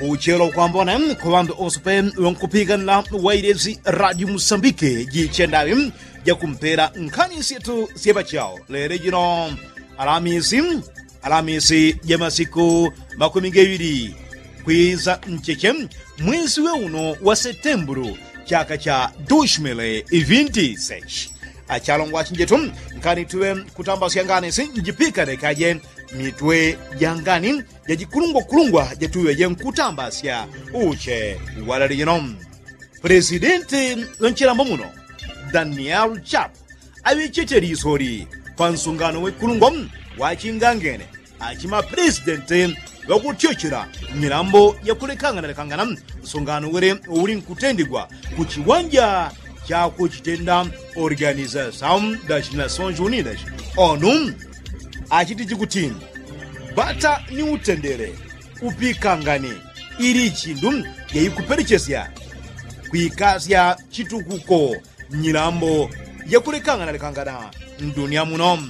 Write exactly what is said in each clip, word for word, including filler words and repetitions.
Uchelo kwambone kwa ŵandu ose pe ŵankupikanila wailesi radio musambike jichendawi jakumpela nkhani syetu syepachawo lele jino alamisi alamisi ja masiku makumi gaiŵili kwisa ncheche mwesi we uno wa setembulu chaka cha dushmili ivinti sechi. Achalongwa chinjetu nkani tuŵe kutambasya ngani si njipikane kaje mitwe ja ngani jajikulungwakulungwa jatuŵe jenkutambasya uche walali jino. Pulesidenti ŵanchilambo muno daniel chap aŵechete lisoli pa nsungano wekulungwa wachingangene achima pulesidenti ŵakutyochela nyilambo yakulekangana lekangana nsungano wele ulinkutendegwa ku chiwanja chakuchitenda organizasaun das nasones unidas onu achitiji kuti bata ni utendele upikangani ili chindu yaikupelechesya kwikasya chitukuko nyilambo yakulekangana lekangana ndunia muno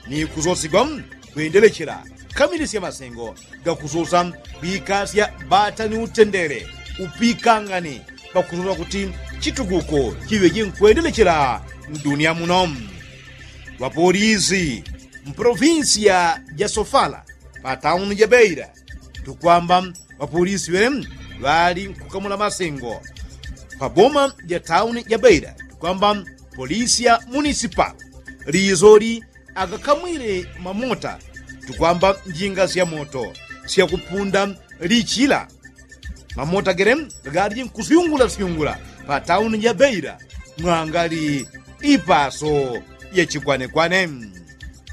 ni kusosigwa kwendelechela kamilisya masengo gakusosa kwikasya bata ni utendele upikangani pakusosa kuti chitukuko chiŵe chinkwendelechela ndunia muno. Ŵapolisi mpolovinsiya ja sofala pa tauni ja beira tukwamba ŵapolisi ŵele ŵali nkukamula masengo pa boma ja tauni ja beira tukwamba polisi ya munisipal lisoli agakamwile mamota tukwamba njinga sya moto syakupunda lichila mamota gele gali nkusyungula syungula pa tauni ja beira mwangali ipaso ya chikwanekwane.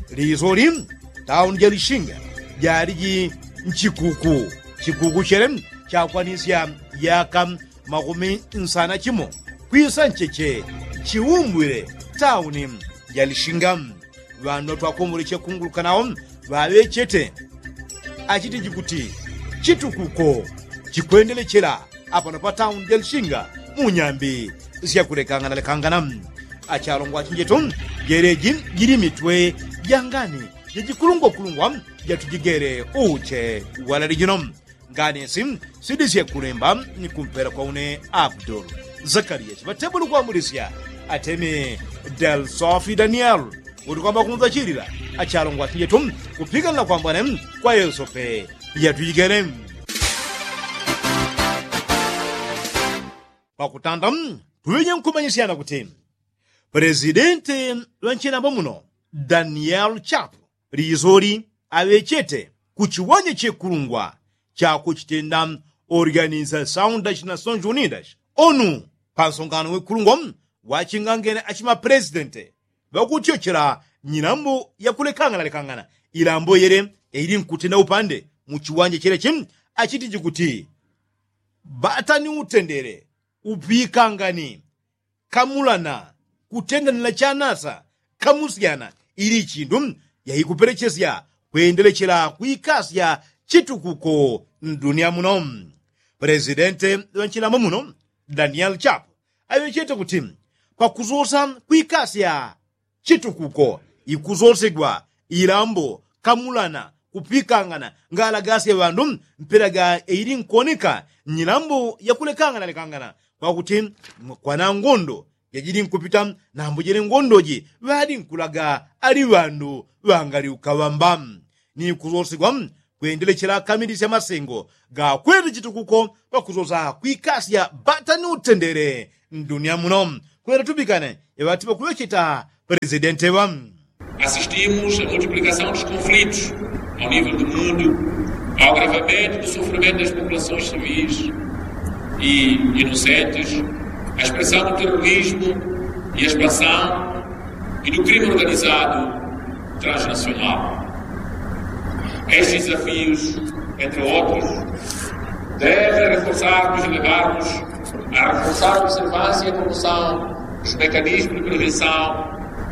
Lisoli tauni ja lishinga jaliji nchikuku chikuku chele chakwanisya yaka makumi nsana chimo kwisa ncheche chiumbwile tauni ja lishinga. Ŵandu twakomboleche kunguluka nawo ŵaŵechete achitiji kuti chitukuko chikwendelechela apano pa tauni ja lishinga mu nyambi syakulekangana lekangana. Achalongwa achinjetu jeleji jili mitwe ja ngani jajikulungwakulungwa jatujigele uche walali jino. Nganisi sidisye kulemba ni kumpela kwa une abdul zakariya chiŵatebuli kwambulisya atemi del sofi daniel uti kwamba kunzachilila achalongwa achinjetu kupikanila kwambwane kwa yesu pe yatujigele. Pakutanda tuŵeje nkumanyisyana kuti pulesidenti ŵa nchilambo muno daniel chapu lisoli aŵechete ku chiwanja chekulungwa chakuchitenda organizasaun das nasones unidas onu pa nsongano wekulungwa wachingangene achima pulesidenti ŵakutyochela nyilambo yakulekangana lekangana ilambo yele yaili nkutenda upande mu chiwanja chelechi achitiji kuti bata ni utendele upikangani kamulana kutendanila chanasa kamusyana ili chindu yaikupelechesya kwendelechela kwikasya chitukuko ndunia muno. Pulesidenti ŵa nchilambo muno daniel chapu aŵechete kuti pakusosa kwikasya chitukuko ikusosegwa ilambo kamulana kupikangana ngalagasya ŵandu mpela ga eili nkoneka nyilambo yakulekangana lekangana kwakuti kwana ngondo jajili nkupita nambo jele ngondoji ŵali nkulaga ali ŵandu ŵangali ukaŵamba ni kusosigwa kwendelechela kamilisya masengo gakwete chitukuko pakusosa kwikasya bata ni utendele ndunia muno kwenda tubikane eŵati ŵakuŵecheta pulesidenti ŵa. Assistimos a multiplicação dos conflitos ao nível do mundo, ao agravamento do sofrimento das populações civis e inocentes, a expressão do terrorismo e a expansão e do crime organizado transnacional. Estes desafios, entre outros, devem reforçar-nos e levar-nos a reforçar a observância e a promoção dos mecanismos de prevenção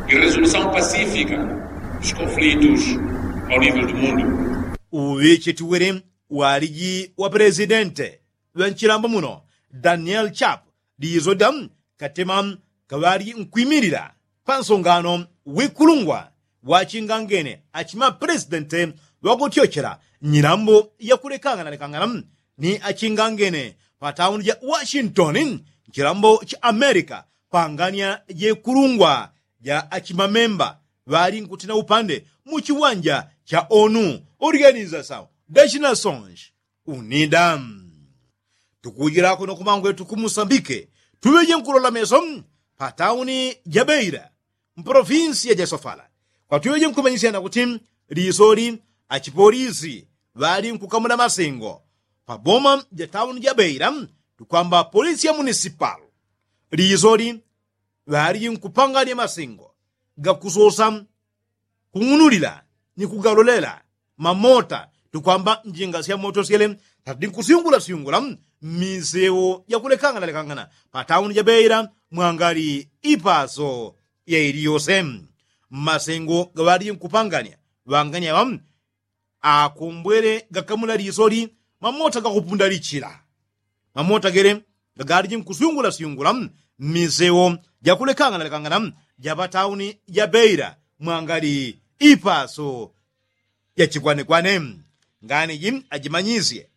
e resolução pacífica dos conflitos ao nível do mundo. Uŵichitiwili waliji wa pulesidenti ŵa nchilambo muno daniel chapu lizo da katema kaŵali nkwimilila pa nsongano wikulungwa wachingangene achima pulesidenti ŵakutyochela nyilambo yakulekangana lekangana ni achingangene pa tauni ja washington, chilambo cha amerika, pangania jekulungwa ja achimamemba ŵali nkutina upande mu chiwanja cha onu organiza sau dachina sonji unida. Tukujilako no kumangwe tukumusambike tuŵeje nkulola meso pa tauni ja beila mpolofinsiya ja sofala, kwatuŵeje nkumanyisyana kuti lisoli achipolisi ŵali nkukamula masengo pa boma ja tauni ja beila tukwamba polisi ya munisipal lisoli ŵaliji nkupanganya masengo gakusosa kung'unulila ni kugalolela mamota tukwamba njinga sya moto syele tati nkusyungula syungula mmisewo jakulekangana lekangana pa tauni ja beila mwangali ipaso ya iliyose. Mmasengo gaŵaliji nkupanganya ŵanganya ŵa akombwele gakamula lisoli mamota gakupunda lichila mamota gele gagaliji nkusyungula syungula mmisewo jakulekangana lekangana ja pa tauni ja beila mwangali ipaso ya chikwanekwane. Nganiji ajimanyisye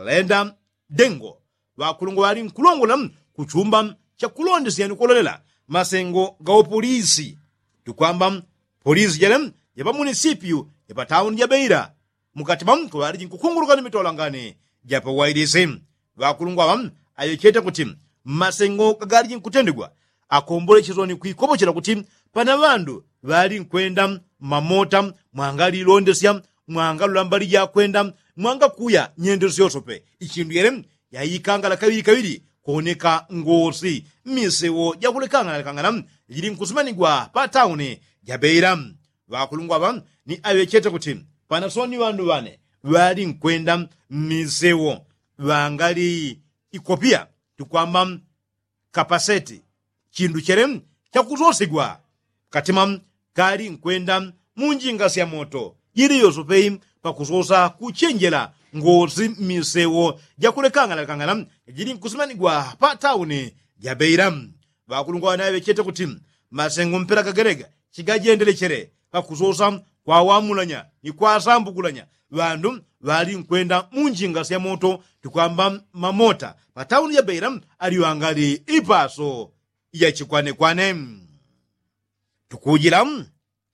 lenda dengo ŵakulungwa ŵali nkulongola kuchumba cha kulondesya ni kulolela masengo ga upolisi tukwamba polisi jele ya pa munisipiyu ya pa tauni ja beila mukati mwa mko ŵaliji nkukunguluka ni mitolangani ja pa wailisi. Ŵakulungwa ŵa aŵechete kuti masengo gagaliji nkutendegwa akombolecheswa ni kwikopochela kuti pana ŵandu ŵali nkwenda mmamota mwangalilondesya mwangalula mbali jakwenda mwangakuya nyendo syosope ichindu yele yaikangala kaŵili kaŵili kuoneka ngosi mmisewo jakulekangana lekangana jili nkusimanigwa pa tauni ja beila. Ŵakulungwa ŵa ni aŵechete kuti pana soni ŵandu ŵane ŵali nkwenda mmisewo ŵangali ikopiya tukwamba kapaseti chindu chele chakusosigwa katima kali nkwenda mu njinga sya moto jili yosope pakusosa kuchenjela ngosi mmisewo jakulekangana lekangana jili nkusimanigwa pa tauni ja beila. Ŵakulungwa ŵanaŵechete kuti masengo mpela gagelega chigajendelechele pakusosa kwawamulanya ni kwasambukulanya ŵandu ŵali nkwenda mu njinga sya moto tukwamba mamota pa tauni ja beila ali ŵangali ipaso ya chikwanekwane. Tukujila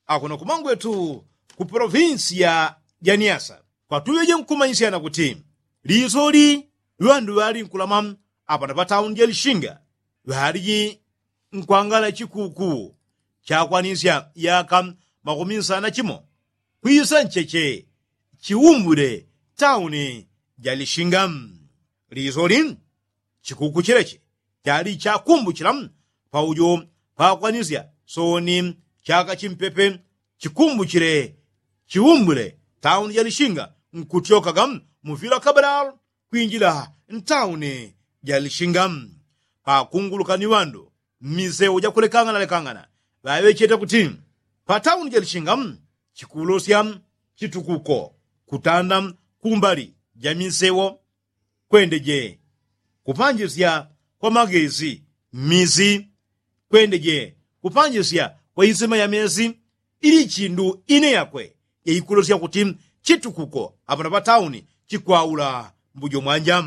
akuno kumangwetu ku polofinsiya ja niasa kwatuŵeje nkumanyisyana kuti lisoli ŵandu ŵali nkulama apano pa tauni ja lishinga ŵaliji nkwangala chikuku chakwanisya yaka makumi nsana chimo kwisa ncheche chiumbule tauni ja lishinga. Lisoli chikuku chileche chali chakumbuchila paujo pakwanisya soni chaka chimpepe chikumbuchile chiumbule tauni ja lishinga nkutyokaga muvila kabalalo kwinjila ntauni ja lishinga. Pakunguluka ni ŵandu mmisewo jakulekangana lekangana ŵaŵechete kuti pa tauni ja lishinga chikulosya chitukuko kutanda kumbali ja misewo kwendeje kupanjisya kwa magesi mmisi kwendeje kupanjisya kwa isima ya mesi ili chindu ine yakwe yaikulosya kuti chitukuko apano pa tauni chikwaula mbujo mwanja.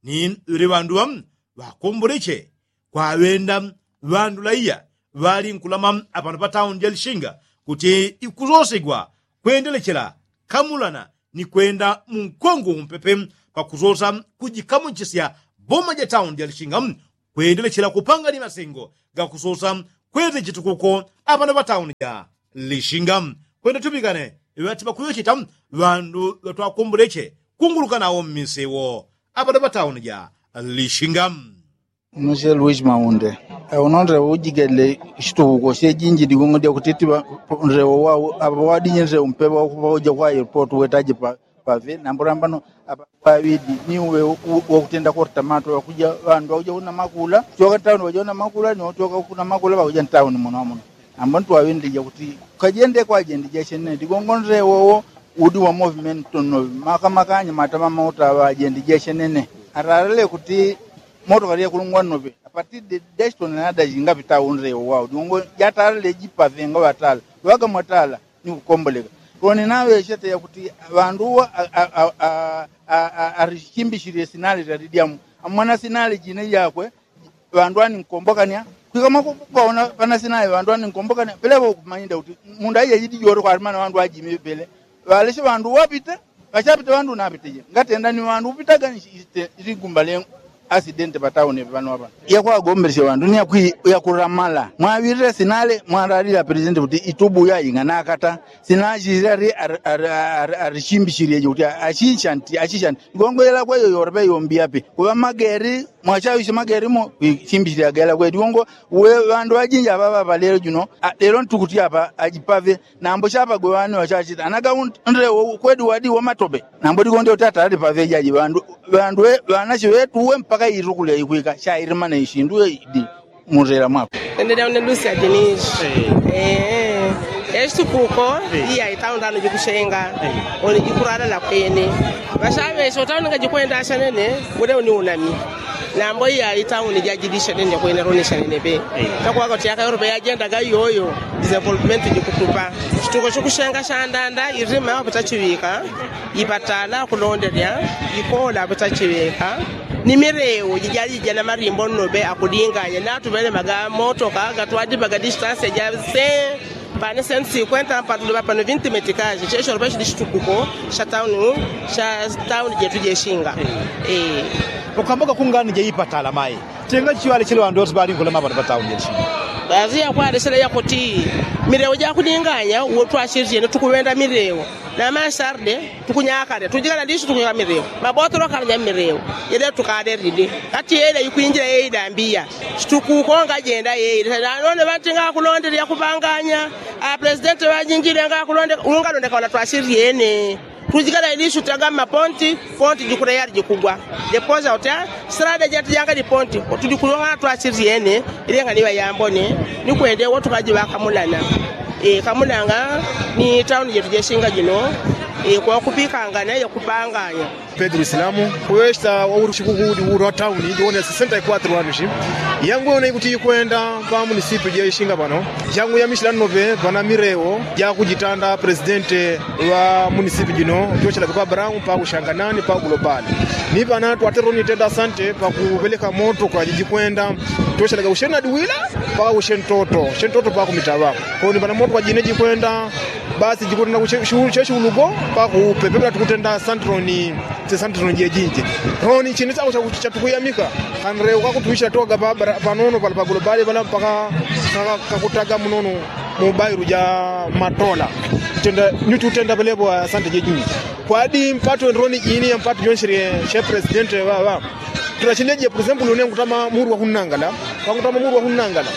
Ni ŵele ŵandu ŵa ŵakomboleche kwaŵenda ŵandu laiya ŵali nkulama apano pa tauni ja lishinga kuti ikusosegwa kwendelechela kamulana ni kwenda mu nkongo umpepe pakusosa kujikamuchisya boma ja tauni ja lishinga kwendelechela kupanga ni masengo gakusosa kwete chitukuko apano pa tauni ja lishinga. Kwenda tupikane ŵati pakuŵecheta ŵandu ŵatwakomboleche kunguluka nawo mmisewo apano pa tauni ja lishinga. Muse luis maunde uno nrewo ujigele shitukuko shejinji digongo dya kutitiwa nrewo wau apa wadinye nrewo mpewa wakupa uja kwa airport wetaje pa pave namburambano apa pavidi ni uwe wakutenda korta mato wakuja wandu wakuja kuna makula choka tauni waja kuna makula ni wachoka kuna makula wakuja ntauni muno muno. Ambo ntwaŵendija kuti kajende kwajendija shenene digongo nrewo wo udi wa movement tonovi makamakanya matama mauta ŵajendija shenene. Ararele kuti moto kali yakulungwa novi apatide dashton nadajinga pita unrewo wau digongo jatarele jipavenga ŵatala ŵakamwatala ni kukomboleka. Loni naŵechete yakuti ŵandu uwo arichimbishilile sinale lyalidyamu amwana sinale jine jakwe. Ŵandu aninkombokania kwika mwakupaona pana sinale ŵandu aninkombokania pelepo ukumanyinda kuti mundu aija jidi jore kwalimana ŵandu ajime pele. Ŵaleshe ŵandu uwo apite. Ŵachapite ŵandu unapite je ngatenda ni ŵandu upitaga ni ligumba lye asidente patauni pano apa. Yakwagombeleshe ŵandu ni yakulamala mwaŵilile sinale mwalalile apresente kuti itubu yaying'ana akata sinachilile ali. Alichimbishilile je kuti achishanti achishanti igongo yelakwe yoyolepe yombiape kuŵa mageri mwachaŵishe mageri mo. Chimbishilile agela kweli igongo uwe ŵandu ŵajinji aŵaŵa ŵalelo juno lelo ntukuti apa ajipave. Nambo chapagwe ŵani ŵachachita anaga undewo kweli wadi wamatope. Nambo ligonde utata alipavejaji ŵandu ŵandu ŵanache ŵetu uwe mpaka itukulya ikwika chailimana ishindu idi. Mutela mwako. Endelea unelusi ajinishi. Echitukuko iya itaundano jikushenga. Oni jikuralala kwene ŵachaŵeshe utauni ngajikwenda achanene. Ule uniunami. Nambo iya itauni jajilisha nene kwene ronisha nene pe. Takwaka kuti yaka yorope yajendaga iyoyo. Development jikutupa chituko chikushenga chandanda irima yawo pitachiŵika. Ipatala kulondelya ikola pitachiŵika. Ni milewo jijali jijana malimbo nnope akulinganya natuŵele maga motoka gatwadipaga distansi jase. Pane sentu sikwenta mpatuliŵa pano vinti metikaji checholope chili chitukuko cha tauni cha tauni jetu jeshinga. Ukamboka kungani jeipatala mai. Tenga chiŵale chili ŵandu ŵose ŵalinkulama ŵano ŵatauni jeshinga. Ŵazi yakwalesela yakuti milewo jakulinganya uwo twashisyene tukuŵenda milewo. Namasarde tukunyakale tujikala lisu tukunyaka milewo. Mabotolo kalanya milewo. Yele tukalelide kati yele ikwinjila yeidambiya. Chitukuko ngajenda yeile nanone ŵanti ngakulondele yakupanganya. Apulesidenti ŵajinjile ngakulonde ungalondeka wana twasilyene. Tujikala ilisutaga mmaponti ponti jikula yali jikugwa. Jeposa uti silade jati janga liponti. Tujikula wana twasilyene. Ilengani ŵayambone ni kwende uwo tukajiŵakamunana. Kamunanga ni tauni jetu jeshinga jino. Kwakupikangana yakupanganya. Pedro silamu kuŵecheta wauli chikuku uli ulwa tauni jiwone sesenta ikwatro anushi. Yangu yone ikuti ikwenda pa munisipi ja ishinga pano. Jangu yamisila nnope pana milewo jakujitanda presidente wa munisipi jino jochelaga pa brown pa kushanganani pa globali. Ni pana twatero nitenda asante pakuŵeleka moto kwa jijikwenda jochelaga ushenadi wila paka ushentoto shentoto pakumitaŵa. Koni pana moto kwa jine jikwenda basi jikutenda kuche- shu- cheshi ulugo. Pakupe pepela tukutenda santroni. Sesantroni jejinje roni chini chako chatukuyamika. Kanre ukakutwisha toga panono pala pagulobali pala mpaka kakutaga munono. Mubailu ja matola. Tenda nyuchi utenda pelepo asante jejinje. Kwadi mpatu enroni jini ya mpatu jonshile she presidente ŵaŵa. Tulachile je presempulu une ngutama muru wakunangala. Wangutama muru wakunangala.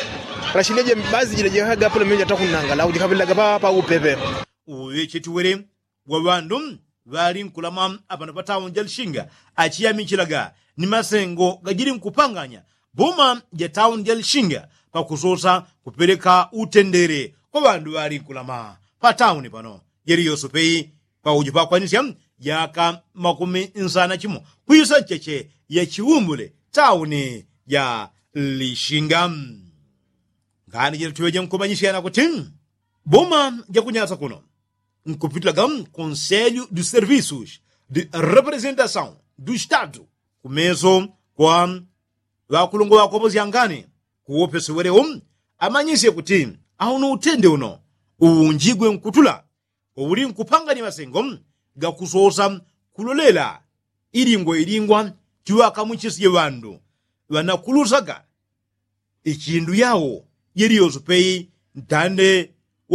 Rashileje bazi jila jihagapula menja takunangala ujikapelaga papa upepe. Uŵecheti wele wa ŵandu ŵali nkulama apano patauni ja lishinga achiyamichilaga ni masengo gajili nkupanganya boma ja tauni ja lishinga pakusosa kupeleka utendele kwa ŵandu ŵali nkulama patauni pano. Jeli yosopeyi paujo pakwanisya jaka makumi nsana chimo kwisa ncheche ya chiumbule tauni ja lishinga. Ngani jila tuŵeje nkumanyisyana kuti boma jakunyasa kuno nkupitilaga konselyu du servisus du representasaun du statu kumeso kwa ŵakulungwa ŵakopo syangani kuwopesi welewo amanyisye kuti auno utende uno uwunjigwe nkutula uwuli nkupangani masengo gakusosa kulolela ilingwa ilingwa chiŵakamuchisye ŵandu ŵanakulusaga ichindu yawo jeli yosopeyi ntande